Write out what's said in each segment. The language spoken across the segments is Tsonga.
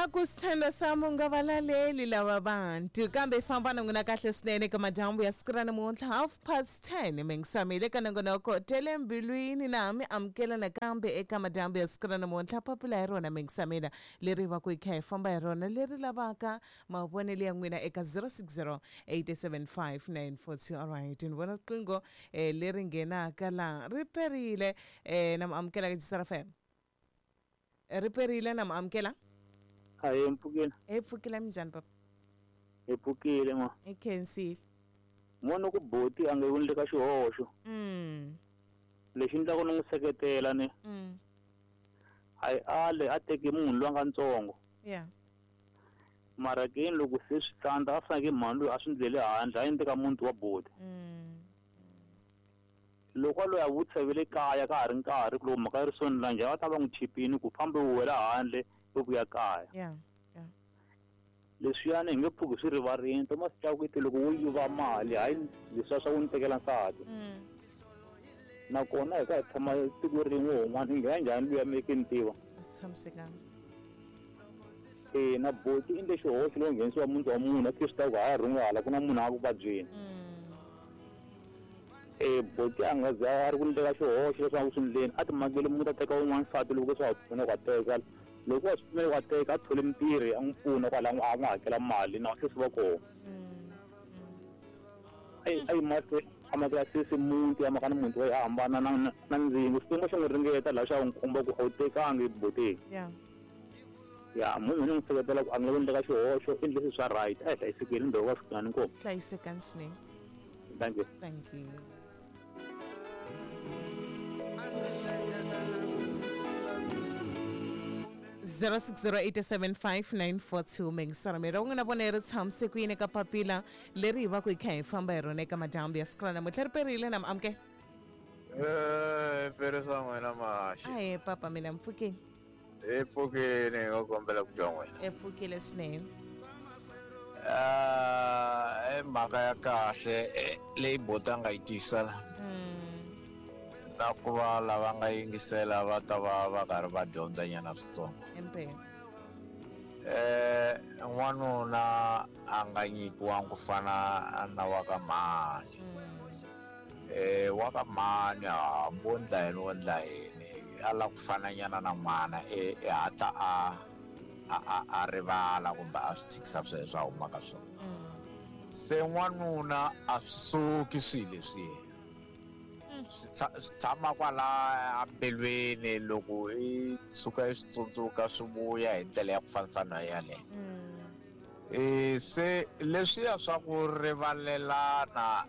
Va ku sithandwa sami u nga va laleli lava vantu kambe famba na n'wina kahle swinene eka madyambu ya siku ra namuntlha 10:30 mingisamile eka nongonoko tele mbilwini na mi amukela nakambe eka madyambu ya siku ra namuntlha papila hi rona mingisamile leri va ku hi kha hi famba hi rona leri lavaka mavonelo ya n'wina eka 060 875 942. Alright, ni vona riqingho leri nghenaka laha ri perile na mi amukela ka Jisara FM. Ri perile na mi amukela. Hayi, mpfukile. Hi pfukile, minjhani papa? Hi pfukile ma. Hi khensile. Mona ku boti a nga wundle ka xihoxo. Lexi endlaka ni n'wi seketela ni. Hayi ale a teke munhu loyi a nga ntsongo. Mara ke loko se swi tsandza a faneke mhani loyi a swi ndlele handle a endle ka muti wa boti. Loko a loyi a vutisa ve le kaya ka ha ri nkarhi ku loko mhaka yi ri soni la njhani va ta va n'wi chipini ku fambe u wela handle u vuya kaya. Leswiyani hi nge pfuki swi rivarini Thomas Chauke te loko wo yiva mali hayi leswiya swa ku ni tekela nsati. Nakona hi ka hi tshama tiko rin'we wun'wana hi nghena njhani luya mi ke ni tiva. Tshamisekanga. Na boti i endle xihoxo loko nghenisiwa muti wa munhu a swi tiva ku hala rhunga hala ku na munhu a ku vabyeni. Boti a nga za a ri ku endleka xihoxo leswi a ku swi endleni a ti makele muti a teka wun'wana nsati loko swa ha pfuna ku a teka loko a swi pfumela ku a teka a thole mutirhi a n'wi pfuna kwala a n'wi hakela mali na sesi va kona. A yi mahlweni a makela sesi muti a maka na muti wa a hambana na ndzingo Xikwembu xi n'wi ringeta laha xa n'wi komba ku a wu tekangi boteni. Ya munhu ni n'wi seketela ku a nga ku endleka xihoxo i endle swilo swa right a hi hlayisekeni ndhawu ka swikanani inkomu. Hlayisekani swinene. Thank you. Thank you. 06087594 mingisaramela u nga na vona ri tshamise ku yini ka papila leri hi va ku hi kha hi famba hi rona eka madyambu ya siku ra namuntlha ri perile na mi amukela. Pere swa n'wina maxi. Ahe papa mina mpfukeni. Hi pfukile hi nga kombela ku twa n'wina. Hi pfukile swinene. I mhaka ya kahle leyi boti a nga yi tisa la. Na ku va lava nga yingisela va ta va va karhi va dyondza nyana switsongo. Impela. N'wanuna a nga nyikiwangi ku fana na wa ka mhani. Wa ka mhani hambi wo ndla yini wo ndla yini a lava ku fananyana na n'wana i hatla a rivala kumbe a swi tshikisa sweswo a humaka swona. Se n'wanuna a swi suki swilo leswiya. Swi tshama kwala embilwini loko i tshuka i swi tsundzuka swi vuya hi ndlela ya ku fanisa na yaleyo. Se leswiya swa ku rivalelana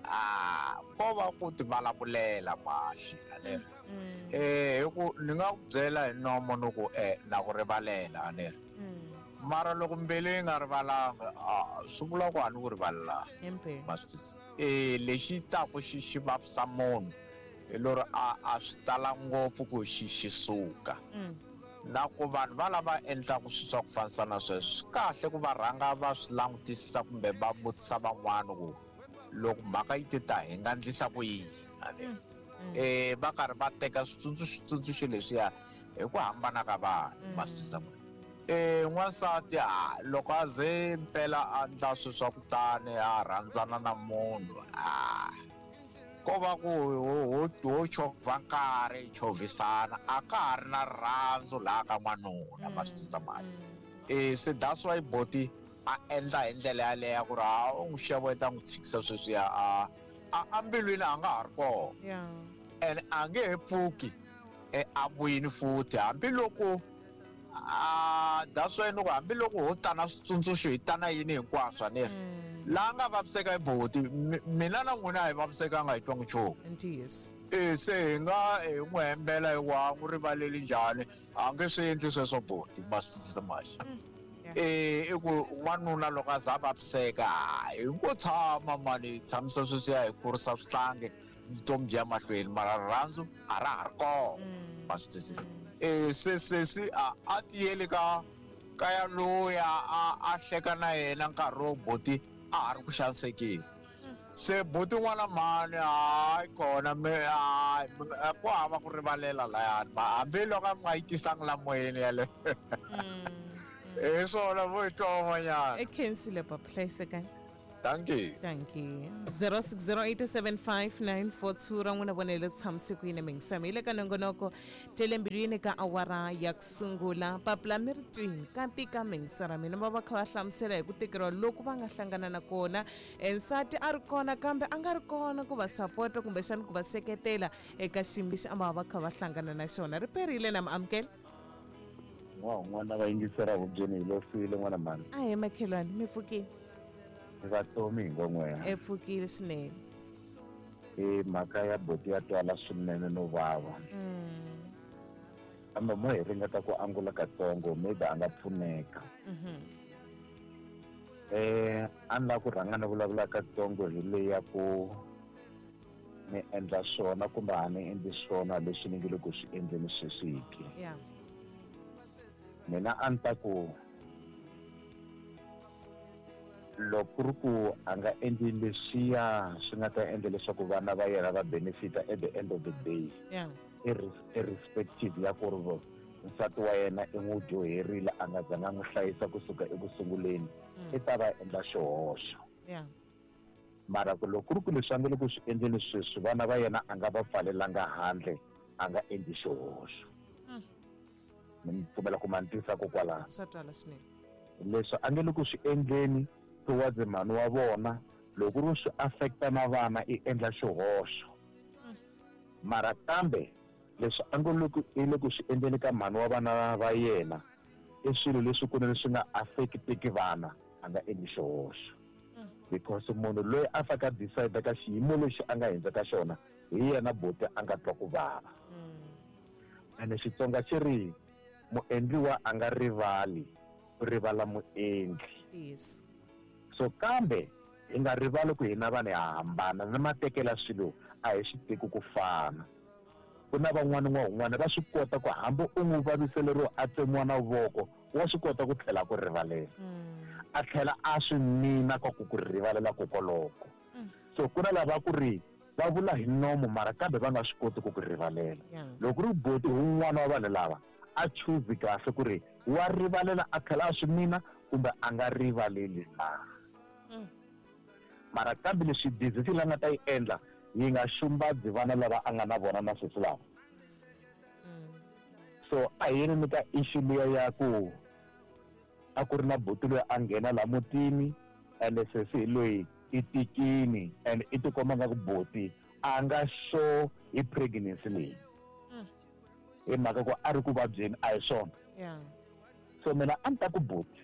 ko va ku ti vulavulela maxi ane. Hi ku ni nga ku byela hi nomo ni ku na ku rivalela ane. Mara loko mbilu yi nga rivalanga swi vula ku a ni ku rivalelanga. Lexi taku xi vavisa munhu hi lori a swi tala ngopfu ku xi suka. Na ku vanhu va lava endlaka swilo swa ku fanisa na sweswo swi kahle ku va rhanga va swi langutisisa kumbe va vutisa van'wana ku loko mhaka yi te ta hi nga endlisa ku yini ane. Va karhi va teka switsundzuxo leswiya hi ku hambana ka vanhu ma swi twisisa ku. N'wansati loko a ze mpela a ndla swilo swa ku tani a rhandzana na munhu ko va ku ho chovha nkarhi chovhisana a ka ha ri na rirhandzu laha ka n'wanuna ma swi twisisa mhani. Se that's why boti a endla hi ndlela yaleyo ku ri u n'wi xeweta n'wi tshikisa sweswiya a mbilwini a nga ha ri kona. And a nge he pfuki a vuyini futhi hambiloko that's why ni ku hambiloko ho tana switsundzuxo hi tana yini hinkwaswo ane. Laha nga vaviseka hi boti mina na n'wina a hi vavisekanga hi twangi nchumu. Se hi nga hi n'wi hembela hi wa n'wi rivaleli njhani a nge swi endli sweswo boti ma swi twisisa maxi. I ku n'wanuna loko a za a vaviseka hi ngo tshama mani hi tshamisa sweswiya hi kurisa swihlangi vutomi byi ya mahlweni mara rirhandzu a ra ha ri kona ma swi twisisa. Se sesi a tiyeli ka kaya loya a hleka na yena nkarhi wo boti a ha ri ku xanisekeni. Se boti n'wana mhani hayi kona me hayi ku hava ku rivalela layani hambiloko a mi nga yi tisanga la moyeni yaleyo. Hi swona vo hi twa van'wanyana. E khensile papa, hlayisekani. Thank you. Thank you. 06087594 ra n'wina vonele tshamise ku yini mingisami hi le ka nongonoko tele mbilwini ka awara ya ku sungula. Papila mi ri twini ka tika mingisara mina va va kha va hlamusela hi ku tikeriwa loku va nga hlangana na kona. Nsati a ri kona kambe a nga ri kona ku va sapota kumbexani ku va seketela eka xiyimo lexi a va va kha va hlangana na xona. Ri perile na mi amukela. N'wa un'wana va yingisela hubyeni hi losile n'wana mhani. A hi makhelwani mi pfukile. Mi vatomi hi ngon'weha. E pfukile swinene. I mhaka ya boti ya twala swinene no vava. Kambe mo hi ringeta ku angula katsongo maybe a nga pfuneka. A ni lava ku rhanga ni vulavula katsongo hi leyi ya ku ni endla swona kumbe a ni endli swona leswi ni nge le ku swi endleni sweswi ke. Mina a ni ta ku loko ku ri ku a nga endli leswiya swi nga ta endla leswaku vana va yena va benefita at the end of the day, irrespective ya ku ri nsati wa yena i n'wi dyoherile a nga zanga n'wi hlayisa kusuka eku sunguleni, i ta va endla xihoxo. Mara ku loko ku ri ku leswi a nga le ku swi endleni sweswi vana va yena a nga va pfalelanga handle, a nga endli xihoxo. Ni pfumela ku ma ni tisa kokwalaho. Swa twala swinene. Leswi a nge le ku swi endleni towards mhani wa vona, loko ku ri swi affecta na vana i endla xihoxo. Mara kambe leswi a ngo le ku i le ku swi endleni ka mhani wa vana va yena i swilo leswi kunene swi nga affecteki vana, a nga endli xihoxo. Because munhu loyi a faka decide ka xiyimo lexi a nga hundza ka xona hi yena boti a nga twa ku vava. Ene Xitsonga xi ri muendliwa a nga rivali, u rivala muendli. So kambe hi nga rivali ku hina vanhu ha hambana na matekelo ya swilo a hi swi teki ku fana. Ku na van'wana n'wa un'wana va swi kota ku hambi u n'wi vaviseleriwa a tsemiwa na voko wa swi kota ku tlhela ku rivalela. A tlhela a swi mina ka ku ku rivalela kokoloko. So ku na lava ku ri va vula hi nomo mara kambe va nga swi koti ku ku rivalela. Loko ku ri boti hi un'wana wa vanhu lava a choose kahle ku ri wa rivalela a tlhela a swi mina kumbe a nga rivaleli na. Mara kambe leswi decision leyi a nga ta yi endla yi nga xumbadzi vana lava a nga na vona na sweswi lava. So a hi yeni ni ka issue liya ya ku a ku ri na buti loyi a nghena la mutini ende sesi hi loyi i tikini and i tikomba nga ku buti a nga sure hi pregnancy leyi. Hi mhaka ku a ri ku vabyeni a hi swona. So mina a ni ta ku buti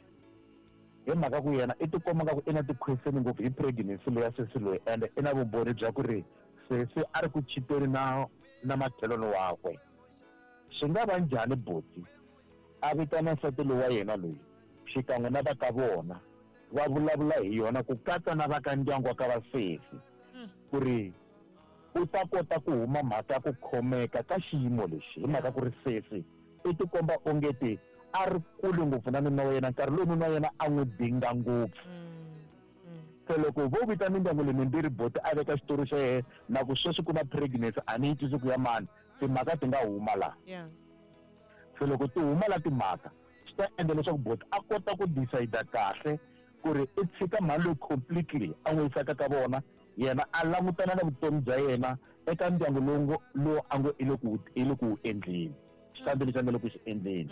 hi mhaka ku yena i tikomba nga ku i na ti-question ngopfu hi pregnancy leyi ya sesi loyi and i na vumbhoni bya ku ri sesi a ri ku chiteni na makhelwani wakwe. Swi nga va njhani buti a vitana nsati loyi wa yena loyi xikan'we na va ka vona va vulavula hi yona ku katsa na va ka ndyangu wa ka va sesi ku ri u ta kota ku huma mhaka ya ku khomeka ka xiyimo lexi hi mhaka ku ri sesi i tikomba ongeti a ri kule ngopfu na nuna wa yena nkarhi lowu nuna wa yena a n'wi dinga ngopfu. Se loko vo vita mindyangu leyi mimbirhi boti a veka xitori xa yena na ku sweswi ku na pregnancy a ni yi twisi ku ya mani timhaka ti nga huma laha. Se loko ti huma la timhaka swi ta endla leswaku boti a kota ku decide kahle ku ri i tshika mhani loyi completely a n'wi yisaka ka vona yena a langutana na vutomi bya yena eka ndyangu lowu a ngo i le ku i le ku wu endleni xitandi lexi a nga le ku xi endleni.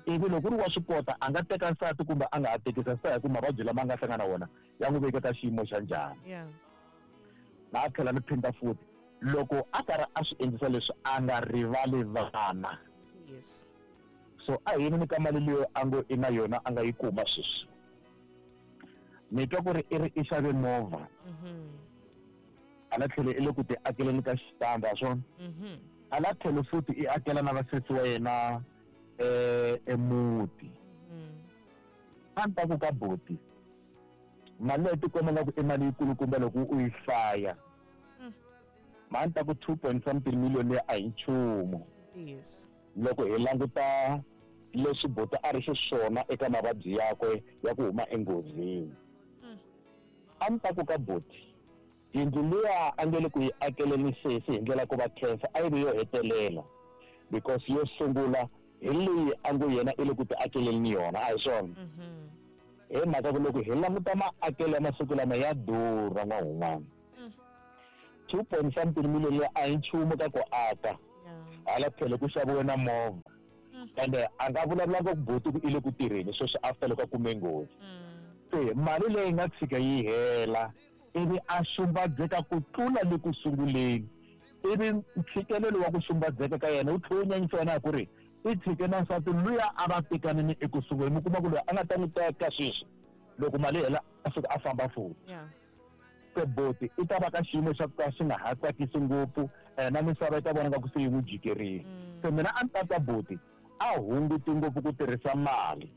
Ivi loko ku ri wa swi kota a nga teka nsati kumbe a nga ha tekisa swi ta ya ku mavabyi lama a nga hlangana na wona ya n'wi veke ka xiyimo xa njhani. Na a tlhela ni phinda futhi loko a karhi a swi endlisa leswi a nga rivali vana. So a hi yini ka mali leyi a ngo i na yona a nga yi kuma sweswi. Ni twa ku ri i ri i xave movha. A la tlhele i le ku ti akeleni ka xitandi a swona. A la tlhele futhi i akela na vasesi wa yena emuti. A ni ta ku ka buti mali leyi tikomba nga ku i mali yikulukumba loko u yi hlaya. Ma ni ta ku 2 point something million leyi a hi nchumu. Loko hi languta leswi buti a ri xiswona eka mavabyi yakwe ya ku huma enghozini. A ni ta ku ka buti yindlu liya a nge le ku yi akeleni sesi hi ndlela ku va khensa a yi vi yo hetelela because yo sungula Hi leyi a ngo yena i le ku ti akeleni yona, a hi swona? Hi mhaka ku loko hi languta maakelo ya masiku lama ya durha n'wahun'wana. 2 point something million leyi a hi nchumu ka ku aka. Hala tlhelo ku xaviwe na movha. Ende a nga vulavulanga ku buti ku i le ku tirheni sweswi after loko a kume nghozi. Se mali leyi nga tshika yi hela ivi a xumbadzeka ku tlula le ku sunguleni. Ivi ntshikelelo wa ku xumbadzeka ka yena wu tlhela wu nyanyisa yena hi ku ri i tshike na nsati luya a va tekanini eku sunguleni. Mi kuma ku loyi a nga ta n'wi teka sweswi loko mali yi hela a suka a famba futhi. Se buti i ta va ka xiyimo xa ku ka xi nga ha tsakisi ngopfu na misava yi ta vona nga ku se yi n'wi jikerile. Se mina a ni ta twa buti a hunguti ngopfu ku tirhisa mali,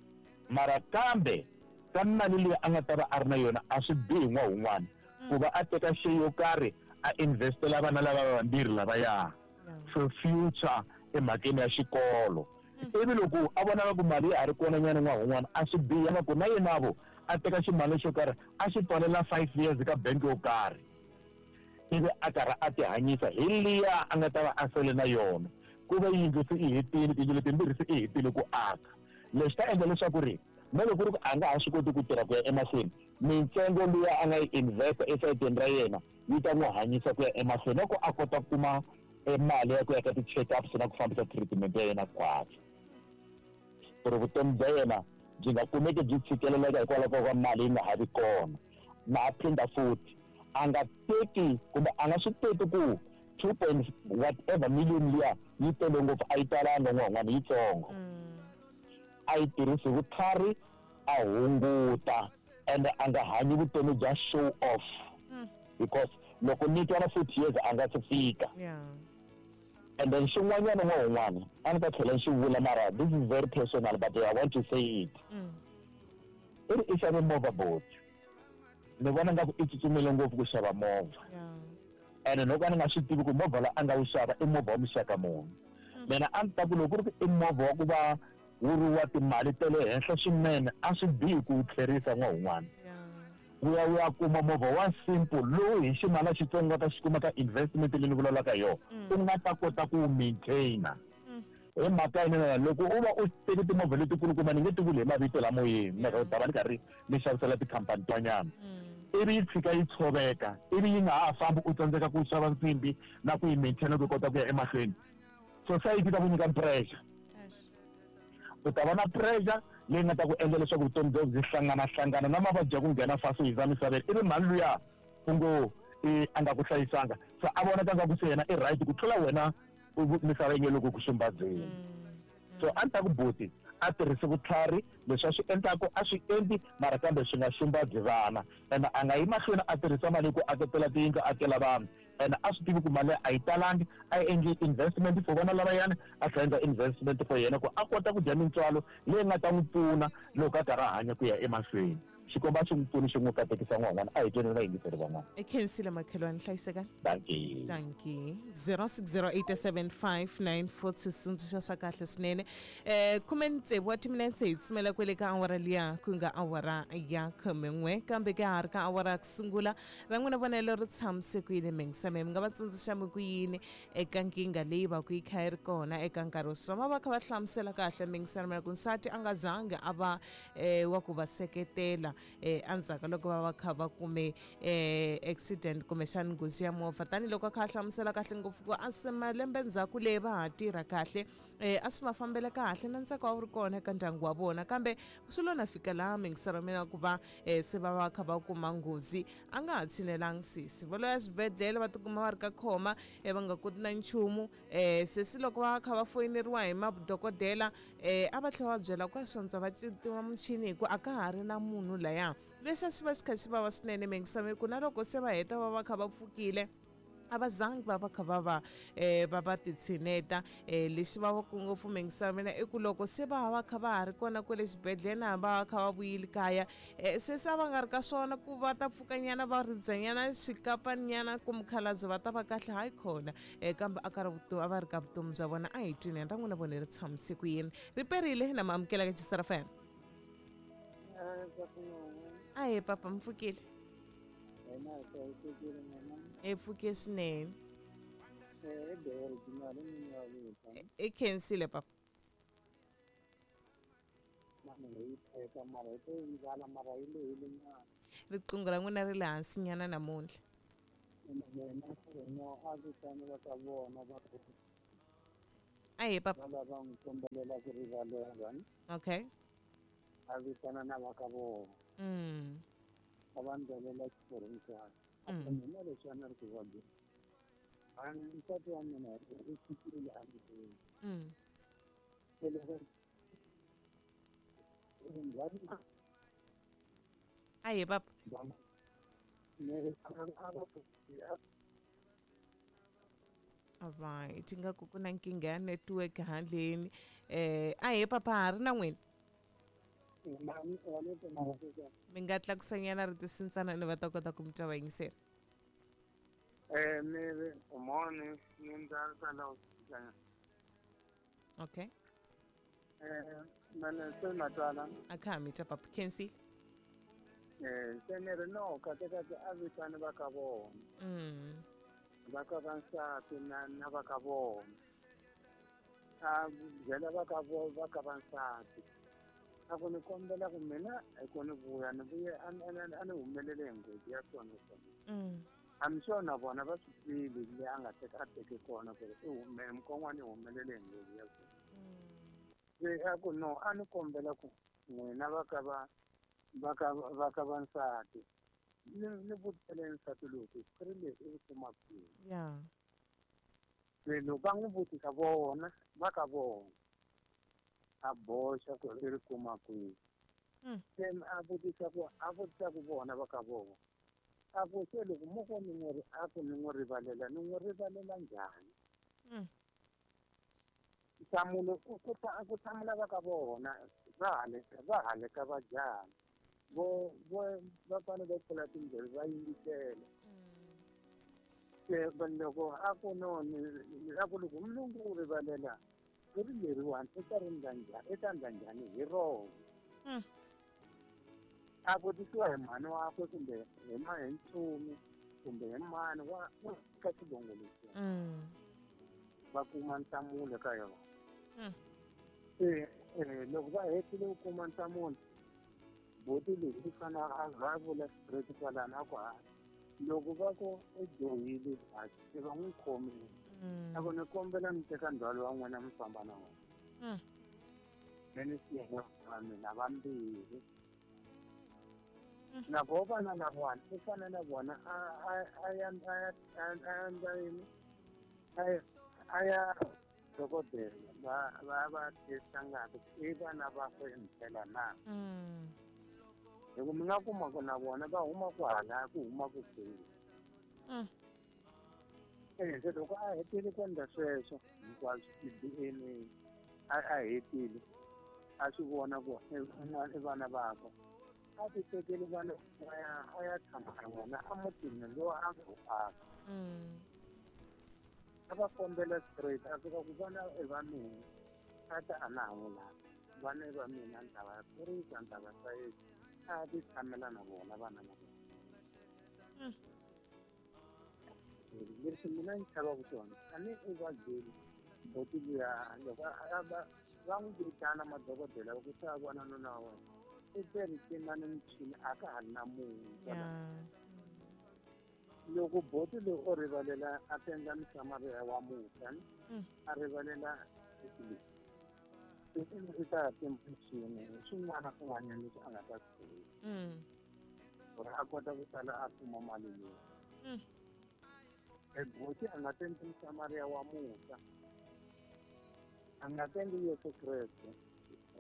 mara kambe ka mali leyi a nga ta va a ri na yona a swi bihi n'wahun'wana ku va a teka share yo karhi a investela vana lava vambirhi lavaya for future emhakeni ya xikolo. Ivi loko a vona ku mali ya ha ri kona nyana n'wahun'wana a swi bihi nga ku na yena vo a teka ximali xo karhi a xi pfalela 5 years ka bank yo karhi ivi a karhi a tihanyisa hi liya a nga ta va a sele na yona. Ku va yindlu se i hetile, tiyindlu letimbirhi se i hetile ku aka. Leswi ta endla leswaku ri na loko ku ri ku a nga ha swi koti ku tirha ku ya emahlweni, mintsengo luya a nga yi investa esayitini ra yena yi ta n'wi hanyisa ku ya emahlweni na ku a kota ku kuma mali ya ku ya ka ti-check-ups na ku fambisa treatment ya yena khwatsi. Ku ri vutomi bya yena byi nga kumeki byi tshikeleleka hikwalaho ka ku va mali yi nga ha vi kona. Na ha phinda futhi, a nga teki kumbe a nga swi teki ku 2 point whatever million liya yi tele ngopfu, a yi talanga n'wan'wana, yitsongo. A yi tirhisi vutlhari, a hunguta, ende a nga hanyi vutomi bya show off. Because loko ni twa na 40 years a nga se fika. And then xin'wanyana n'wan'wana a ni ta tlhela ni xi vula, mara this is very personal but I want to say it. I ri i xave movha buti. Ni vona nga ku i tsutsumile ngopfu ku xava movha. Ene loko a ni nga swi tivi ku movha lowu a nga wu xava i movha wa muxaka muni. Mina a ni ta ku loko ku ri ku i movha wa ku va wu ri wa timali ta le henhla swinene a swi bihi ku wu tlherisa n'wahun'wana. Wu ya wu ya kuma movha wa simple lowu hi ximali xitsongo nga ta xi kuma ka investment leyi ni vulavulaka hi yona, u nga ta kota ku wu maintainer. Hi mhaka yini na loko u va u teke timovha letikulukumba, ni nge ti vuli hi mavito la moyeni, mhaka u ta va ni karhi ni xavisela tikhampani tin'wanyana, ivi yi tshika yi tshoveka, ivi yi nga ha fambi, u tsandzeka ku xava nsimbi na ku yi maintainer ku yi kota ku ya emahlweni, society ta ku nyika pressure. U ta va na pressure leyi nga ta ku endla leswaku vutomi bya byi hlangana-hlangana na mavabyi ya ku nghena fasi u hundza misaveni, ivi mhani luya u ngo a nga ku hlayisanga, se a vonaka nga ku se yena i right ku tlula wena, misava yi nge le ku ku xumbadzeni. So a ni ta ku buti a tirhisi vutlhari, leswi a swi endlaku a swi endli, mara kambe swi nga xumbadzi vana. Ene a nga yi mahlweni a tirhisa mali ku aketela tiyindlu, a akela vanhu. Ene a swi tivi ku mali a yi talangi, a yi endli investment for vana lavayani, a tlhela endla investment for yena ku a kota ku dya mintswalo leyi nga ta n'wi pfuna loko a karhi a hanya ku ya emahlweni. Xikwembu a xi n'wi pfuni xi n'wi katekisa n'wan'wana. A hi tweni na vayingiseri van'wana. I khensile makhelwani, hlayisekani. Dankie. Dankie. 06087594 switsundzuxo swa kahle swinene. 16 wa timinetse hi tsumela kwele ka awara liya ku nga awara ya 11, kambe ka ha ri ka awara ya ku sungula ra n'wina vonelo ri tshamise ku yini mingisame, mi nga va tsundzuxa mi ku yini eka nkingha leyi va ku yi kha yi ri kona eka nkarhi wo swama va kha va hlamusela kahle mingisana mina ku nsati a nga zangi a va wa ku va seketela endzhaku loko va va kha va kume accident kumbexani nghozi ya movha, tanihiloko a kha a hlamusela kahle ngopfu ku a se malembe ndzhaku leyi va ha tirha kahle a swi va fambela kahle na ntsako a wu ri kona eka ndyangu wa vona, kambe swi lo na fika laha mingisana mina ku va se va va kha va kuma nghozi a nga ha tshinelangi sesi va lo ya swibedhlele va tikuma va ri ka khoma va nga koti na nchumu. Sesi loko va kha va foyineriwa hi madokodela a va tlhela va byela ku a swantswa va tima muchini hi ku a ka ha ri na munhu laya. Lexi a xi va xi kha xi vava swinene mingisana ku na loko se va heta va va kha va pfukile a va zangi va va kha va va va va titshineta. Lexi vavaka ngopfu mingisana mina i ku loko se va va kha va ha ri kona kwale xibedhlele na va va kha va vuyile kaya se se a va nga ri ka swona ku va ta pfukanyana va ridzanyana xikapaninyana ku mukhalabye va ta va kahle, hayi khona kambe a ka ri a va ri ka vutomi bya vona. A hi twini ra n'wina vone ri tshamise ku yini, ri perile na ma amukela ka Chisara FM. Ahe papa, mi pfukile? Hi pfuke swinene. I khensile papa. mi yi teka mara hi to yi ndlala mara yi lehile nyana. Riqingho ra n'wina ri le hansi nyana namuntlha. Mina no a vitani va ka vona va Ahe papa. Va lava n'wi kombelela ku rivalela. Okay. A vitana na va ka vona. A va ndlelela xiporhontswana. Mina leswi a ni ri ku vabyeni. Nsati wa mina u fikile a ndlwini. Se loko Ahe papa. Alright, ingaku ku na nkingha ya network handleni. Ahe papa ha ri na n'wina. Mi nga tlakusanyana ri tisintsana ni va ta kota ku mi twa va yingisela. Okay. A kha ha mi twa papa khensile. Se ni ri no kahlekahle a vitani va ka vona. Va ka va nsati na va ka vona. A byela va ka vona va ka va nsati. A ku ni kombela ku mina hi ku ni vuya ni vuye a ni humelele hi nghozi ya swona swona. I'm sure na vona va swi twile le a nga teka a teke kona ku ri i hume mukon'wana i humelele hi nghozi ya swona. Se a ku no a ni kombela ku n'wina va ka va va ka va nsati ni vutele nsati lowu ku ri leswi i kuma kwihi. Yeah. Se loko va n'wi vutisa vona va ka vona a boxa ku i ri kuma kwihi. Se a vutisa ku vona va ka vona a ku se loko mo ko ni n'wi a ku ni n'wi rivalela ni n'wi rivalela njhani. Nhlamulo ku hlamula va ka vona va hale ka va jaha vo va fanele va pfula tindleve va yingisela. Se loko a ku no a ku loko mulungu u rivalela ku ri leriwani i ta ri ndla njhani i ta ndla njhani hi rona. A vutisiwa hi mhani wakwe kumbe hi hi ntsumi kumbe hi mani wa ka xivongo lexiya. Va kuma nhlamulo ka yona. Se loko va hetile ku kuma nhlamulo boti leyi i fanele a va vula straight kwalano a ku ha loko va ku i dyohile ha se va n'wi khomile. A ku ni kombela mi teka ndzhwalo wa n'wina mi famba na wona. Mi ni siya va mina vambirhi. Na voho vana lavawani i fane na vona a ya endla yini a ya dokodela va testa ngati i vana vakwe himpela na. Hi ku mi nga kuma ku na vona va huma ku hala ku huma ku kwihi. Se loko a hetile ku endla sweswo hinkwaswo ti-DNA a hetile a swi vona ku i vana vakwe a ti tekeli vana a ya tshama na vona emutini lowu a nga wu aka. A va kombela straight a fika ku vana i va mina a ta a na ha n'wi lava vana i va mina ni ta va kurisa ni ta va hlayisa a ti tshamela na vona vana va vona. Leswi mina ni chavaka swona a ni i va byeli boti luya loko va n'wi vitana madokodela va ku se a vona nuna wa wena i tirhisina ni michini a ka ha ri na munhu. Loko boti loyi o rivalela a tendla musamariya wa musa a rivalela leswi i ta timchini swin'wana swin'wanyana leswi a nga ta swi tirhisa ku ri a kota ku sala a kuma mali leyi. Boti a nga tendli musamariya wa musa a nga tendli Yesu Kreste.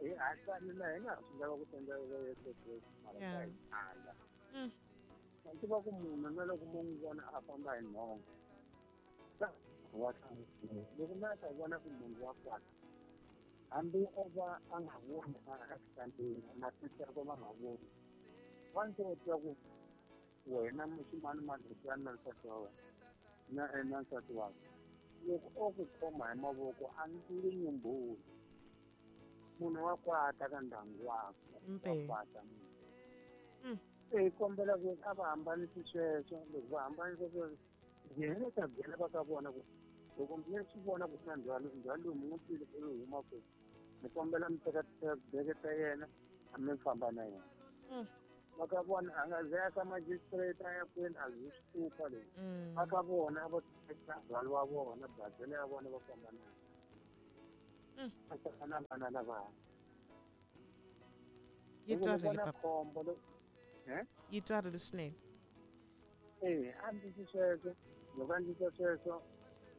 Hi hatla na hi nga ha swi lava ku tendla Yesu Kreste mara ka hi ala. Ma tiva ku munhu na loko mo n'wi vona a famba hi nhonga wa loko mi ta vona ku munhu wa kwata hambi o va a nga voni a xitandini matihlo yakwe ma nga voni wa ndzi u twa ku wena muximani madlutani na nsati wa wena na nsati wakwe loko o ku khoma hi mavoko a nge nyumbuli munhu wa kwata ka ndyangu wakwe wa kwata munhu. Se hi kombela ku a va hambanisi sweswo loko va hambanisa sweswo yena ta byela va ka vona ku loko mi swi vona ku na ndzhwalo lowu mi n'wi twile ku ri huma kwihi ni kombela mi teka beke ta yena A mi famba na yena. Va ka vona a nga ze a ka magistrate a ya kwini, a zwi switupa leswi. Va ka vona a va teka rhwalo wa vona, bazele ya vona, va famba na yena. A sala na vana lavaya. Yi twarile vona papa. Khombo lo eh? Yi twarile swinene. Eh, a ndzi sweswo, loko a ndzi sweswo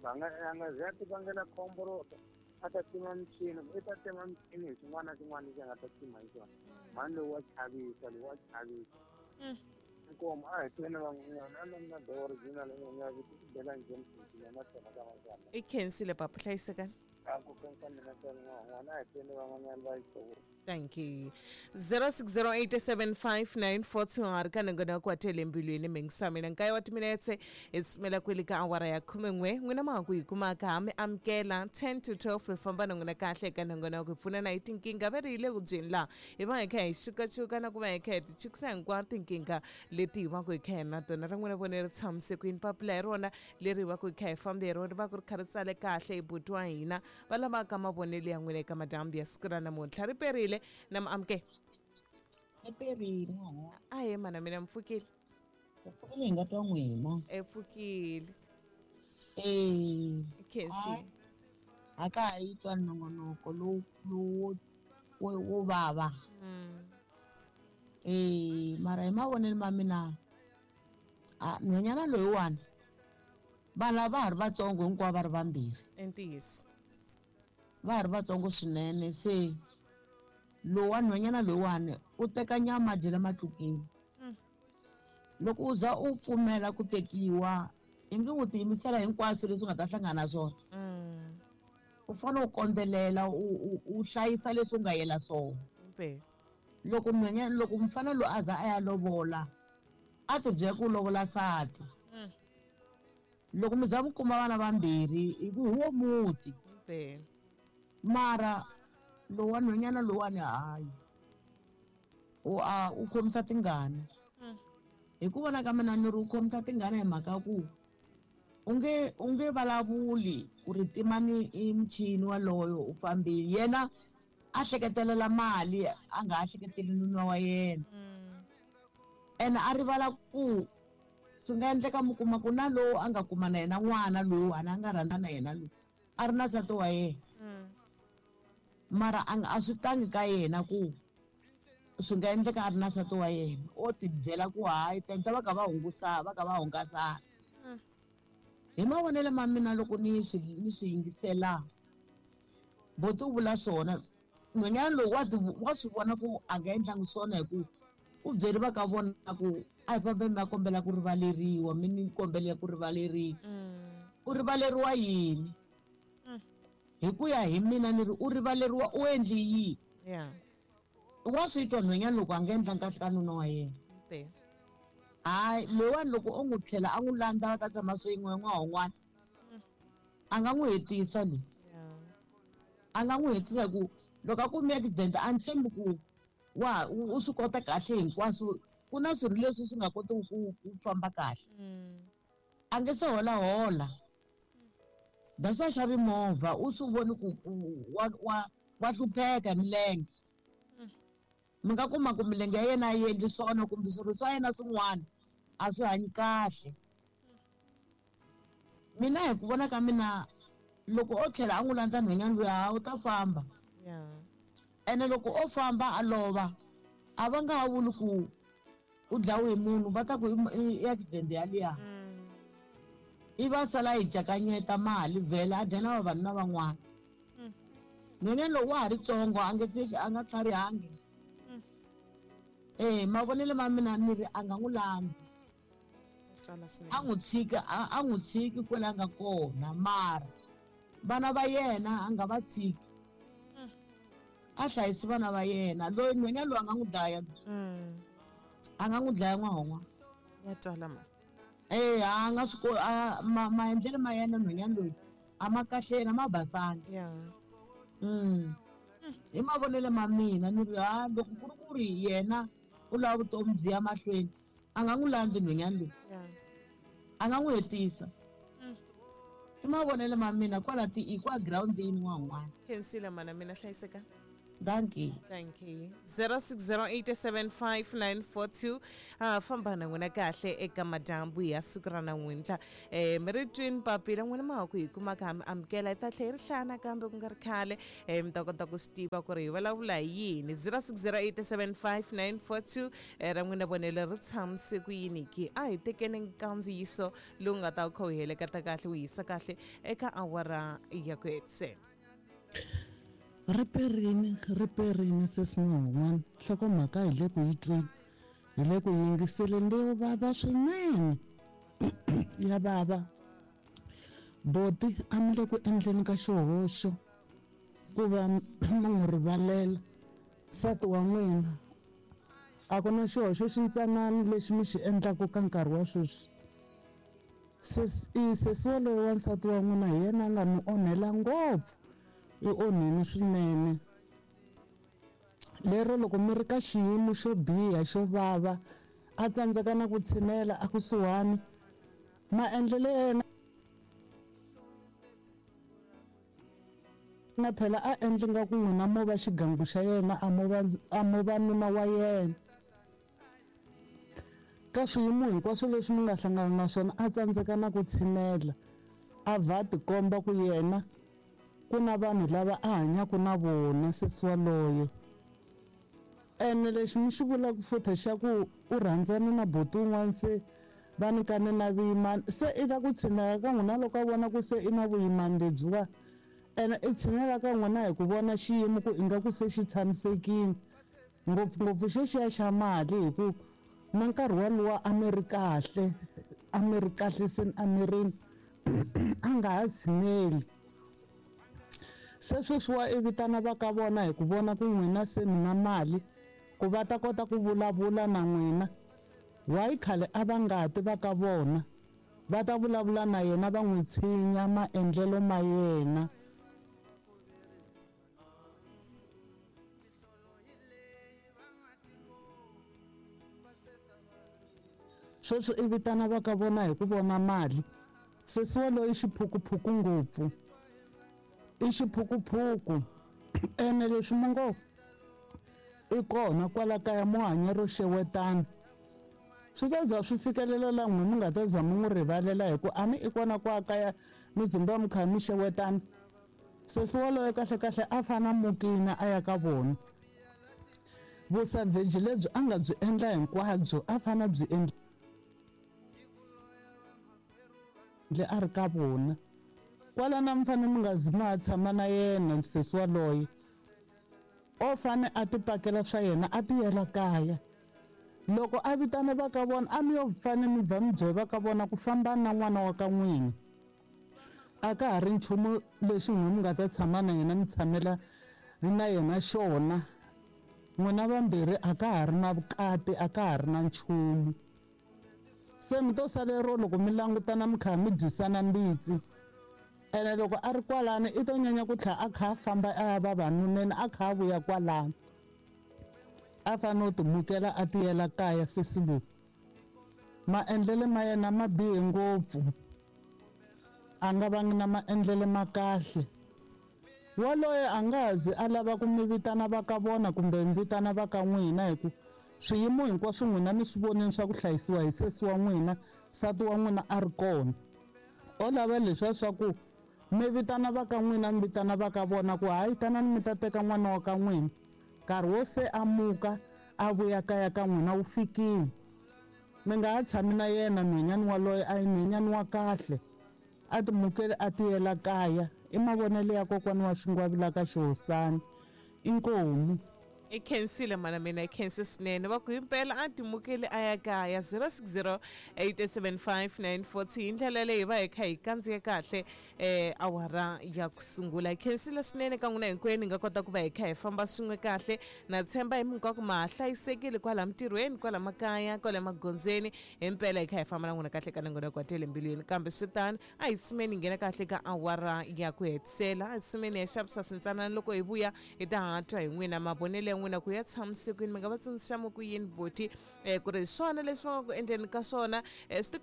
va nga a nga ze a ti vangela khombo ro ta a ta tima michini, i ta tima michini hi xin'wana na xin'wana lexi a nga ta tima hi xona. Mhani lowu wa chavisa, lowu wa chavisa. Inkomu a hi tweni van'wanyana a na the original nga bela James na tona ka van'wana. I khensile papa, hlayisekani. A ku khensa mina ntsena n'wana, a hi tweni van'wanyana va yi hluvula. Thank you. 06087594 ka nongonoko wa tele mbilwini mingisa mina nkaye wa timinetse hi tsumela kwele ka awara ya 11 n'wina ma ha ku hi kumaka ha mi amukela 10 to 12 hi famba na n'wina kahle eka nongonoko hi pfunana hi tinkingha ve ri hi le ku byeni laha hi va hi kha hi xukaxuka na ku va hi kha hi ti chukisa hinkwato tinkingha leti hi va ku hi kha hi na tona. Ra n'wina vone ri tshamise kwini? Papila hi rona leri hi va ku hi kha hi fambe hi rona, ri va ku ri kha ri tsale kahle hi buti wa hina va lavaka mavonelo ya n'wina eka madyambu ya siku ra namuntlha. Ri perile na mi amukela. Riperile n'wana. Ahe mana, mina mi pfukile? Hi pfukile, hi nga twa n'wina. E pfukile. Eh. Khensi. A ka ha yi twa nongonoko lowu lowu wo vava. Eh, mara hi mavonelo ma mina, a nhwanyana loyiwani vana va ha ri vatsongo hinkwavo va ri vambirhi. I ntiyiso. Va ha ri vatsongo swinene, se lowa nhwanyana loyiwani u teka nyama a dyela matlukeni. Loko u za u pfumela ku tekiwa, i nge u tiyimisela hinkwaswo leswi u nga ta hlangana na swona. U fanele u kondzelela, u hlayisa leswi u nga yela swona. Loko nhwanyana, loko mfana loyi a za a ya lovola, a ti byela ku lovola nsati. Loko mi za mi kuma vana vambirhi, hi ku hi wo muti. Mara lowa nhwanyana lowani hayi, u a u khomisa tingana. Hi ku vona ka mina ni ri u khomisa tingana hi mhaka ku u nge vulavuli ku ri timani i michini waloyo u fambile. Yena a hleketelela mali, a nga ha hleketeli nuna wa yena. Ene a rivala ku swi nga endleka mi kuma ku na lowu a nga kuma na yena n'wana lowu a nga rhandza na yena lowu a ri na nsati wa yena. Mara a swi tangi ka yena ku swi nga endleka a ri na nsati wa yena. O ti byela ku hayi tenta va kha va hungusa, va kha va hungasana. Hi mavonelo ma mina loko ni swi yingisela, boti u vula swona. Nhwanyana lowu wa swi vona ku a nga endlangi swona hi ku u byeri va ka vona ku a hi fambe mi ya kombela ku rivaleriwa, mi ni kombela ku rivaleriwa. U rivaleriwa yini? Hi ku ya hi mina ni ri u rivaleriwa u endli yini? Wa swi twa nhwanyana loko a nga endlangi kahle ka nuna wa yena. Hayi, loyiwani loko o n'wi tlhela a n'wi landza va ta tshama swin'we n'wana wun'wana, a nga n'wi hetisa loyi. A nga n'wi hetisa ku loko a kume accident a ni tshembi ku wa u swi kota kahle hinkwaswo. Ku na swirho leswi swi nga kotiki ku famba kahle. A nge se holahola. That's why xavi movha, u swi voni ku wa hlupheka hi milenge. Mi nga kuma ku milenge ya yena a yi endli swona kumbe swirho swa yena swin'wana a swi hanyi kahle. Mina hi ku vona ka mina loko o tlhela a n'wi landza nhwanyana luya, ha u ta famba. Ene loko o famba a lova, a va nga ha vuli ku u dlawe hi munhu, va ta ku i accident yaliya. I va sala yi cakanyeta mali vhela a dya na vavanuna van'wana. Nhwanyana lowu wa ha ri tsongo, a nge se a nga tlharihangi. Eh, mavonelo ma mina ni ri a nga n'wi landzi. A n'wi tshika, a n'wi tshiki kwala a nga kona, mara vana va yena a nga va tshiki. A hlayisi vana va yena. Loyi nhwanyana loyi a nga n'wi dlaya. A nga n'wi dlaya n'wahon'wa. Ya twala ma. Eh, a nga swi a, maendlelo ma yena nhwanyana loyi a ma kahle yena, ma basanga. Hi mavonelo ma mina ni ri ha loko ku ri ku ri yena u lava vutomi byi ya mahlweni, a nga n'wi landzi nhwanyana loyi. A nga n'wi hetisa. I mavonelo ma mina kwala ti i kwa groundini n'wan'wana. Khensile mana mina, hlayiseka. Dankie. Thank you. 0608755942 famba na n'wina kahle eka madyambu ya siku ra namuntlha. Mi ri twini papila n'wina ma ha ku hi kuma ka mi amukela hi ta tlhela hi ri hlaya nakambe ku nga ri khale, mi ta kota ku swi tiva ku ri hi vulavula hi yini. 0608755942 ra n'wina vonelo ri tshamise ku yini ki? A hi tekeni nkandziyiso lowu nga ta wu kha wu heleketa kahle wu yisa kahle eka awara ya ku hetisela. Riperini, riperini sesi n'wana, nhlokomhaka hi le ku yi tweni, hi le ku yingiseleni leyo vava swinene. Ya vava. Boti a mi le ku endleni ka xihoxo ku va mi n'wi rivalela nsati wa n'wina. A ku na xihoxo xintsanana lexi mi xi endlaka ka nkarhi wa sweswi. Sesi waloye wa nsati wa n'wina hi yena a nga mi onhela ngopfu. I onheni swinene. Lero loko mi ri ka xiyimo xo biha xo vava, a tsandzeka na ku tshinela a kusuhani, maendlelo ya yena na phela a endli nga ku n'wina mo va xigangu xa yena, a mo va nuna wa yena. Ka swiyimo hinkwaswo leswi mi nga hlangana na swona, a tsandzeka na ku tshinela, a va tikomba ku yena ku na vanhu lava a hanyaka na vona sesi waloye. Ene lexi mi xi vulaka futhi xa ku u rhandzana na buti un'wana se va nyikane na vuyimani, se i la ku tshinela ka n'wina loko a vona ku se i na vuyimani lebyiwa, ene i tshinela ka n'wina hi ku vona xiyimo ku ingaku se xi tshamisekile, ngopfungopfu xexiya xa mali, hi ku na nkarhi walowo a mi ri kahle, a mi ri kahle se a mirini, a nga ha tshineli. Se sweswiwa i vitana va ka vona hi ku vona ku n'wina se mi na mali ku va ta kota ku vulavula na n'wina. Why khale a va nga ti va ka vona va ta vulavula na yena va n'wi tshinya maendlelo ma yena. Sweswi i vitana va ka vona hi ku vona mali. Sesi waloye i xiphukuphuku ngopfu, i xiphukuphuku. Ene leswi mi ngo i kona kwala kaya mo hanya ro xewetana, swi ta za swi fikelela la n'wina mi nga ta za mi n'wi rivalela, hi ku a ni i kona kwa kaya mi zimba mi kha mi xewetana. Sesi waloye kahle kahle a fana mukina a ya ka vona. Vusavheji lebyi a nga byi endla hinkwabyo a fana byi endle a ri ka vona. Kwala na mi fanele mi nga zi ma tshama na yena sesi waloye, o fane a ti pakela swa yena a tiyela kaya. Loko a vitana va ka vona, a mi yo fane mi bva mi byela va ka vona ku famba na n'wana wa ka n'wina. A ka ha ri nchumu lexi n'wina mi nga ta tshama na yena mi tshamela na yena xona. N'wina vambirhi a ka ha ri na vukati, a ka ha ri na nchumu. Se mi to salero loko mi langutana mi kha mi dyisana mbitsi. Ene loko a ri kwalano i to nyanya ku tlhela a kha a famba a ya vavanuneni, a kha a vuya kwalano. A fanele u timukela a tiyela kaya sesi loyi. Maendlelo ma yena ma bihe ngopfu, a nga vangi na maendlelo ma kahle. Waloye a nga ha zi a lava ku mi vitana va ka vona kumbe mi vitana va ka n'wina, hi ku swiyimo hinkwaswo n'wina mi swi vonile swa ku hlayisiwa hi sesi wa n'wina, nsati wa n'wina a ri kona. O lava leswiya swa ku mi vitana va ka n'wina, mi vitana va ka vona ku hayi tanani mi ta teka n'wana wa ka n'wina. Nkarhi wo se a muka a vuya kaya ka n'wina wu fikile. Mi nga ha tshami na yena nhwenyani waloye, a hi nhwenyani wa kahle. A timukeli a tiyela kaya. I mavonelo ya kokwana wa xingwavila ka xihosana. Inkomu. I khensile mana mina, i khense swinene. Va ku himpela a timukeli a ya kaya. 06087594 hi ndlela leyi va hi kha hi kandziya kahle awara ya ku sungula. Hi khensile swinene ka n'wina hinkwenu, hi nga kota ku va hi kha hi famba swin'we kahle. Na tshemba hi minkwako ma ha hlayisekile kwala mintirhweni, kwala makaya, kwala magondzweni. Himpela hi kha hi famba na n'wina kahle ka nongonoko wa Tele Mbilwini. Kambe swi tano, a hi simeni hi nghena kahle ka awara ya ku hetisela. A hi simeni hi ya xavisa swintsanana, loko hi vuya hi ta ha twa hi n'wina mavonelo ya n'wina ku ya tshamisekwini. Mi nga va tsundzuxa mu ku yini boti ku ri hi swona leswi va nga ku endleni ka swona, swi ti